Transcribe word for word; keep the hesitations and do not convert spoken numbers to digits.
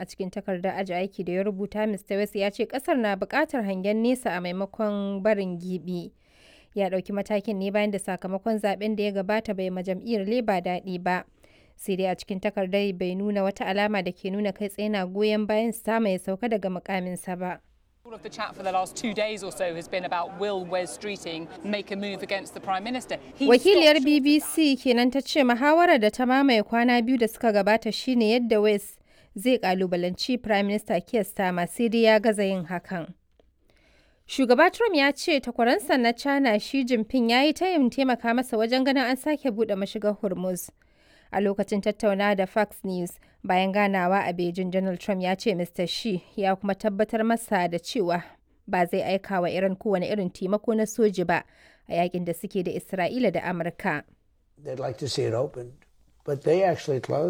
A cikin takardar aji aiki da ya rubuta, Mister West ya ce kasar na buƙatar hangen nesa a maimakon barin gibi. Ya ɗauki matakin ne bayan da sakamakon zaben da ya gabata bai ma jam'iyyar Labour daɗi ba. Sai dai a cikin takardar bai nuna wata alama da ke nuna kai tsaye na goyon bayan Starmer ya sauka daga mukaminsa ba. All of the chat for the last two days or so has been about will Wes Streeting make a move against the Prime Minister. He Wakiliyar stopped short of that. B B C kenan ta ce muhawarar da ta mamaye kwana biyu da suka gabata shine yadda West zai kalubalanci Prime Minister Keir Starmer, sai dai ya gaza yin hakan. Shugaba Trump ya ce takwaransa na China Xi Jinping ya yi tayin taimaka masa wajen ganin an sake buɗe mashigar Hormuz. A lokacin tattaunawa da Fox News bayan ganawa a Beijing, Donald Trump ya ce Mister Xi ya kuma tabbatar masa da cewa ba zai aika wa Iran kowane irin taimako na soji ba a yakin da suke da Isra'ila da Amurka. They'd like to see it opened, but they actually closed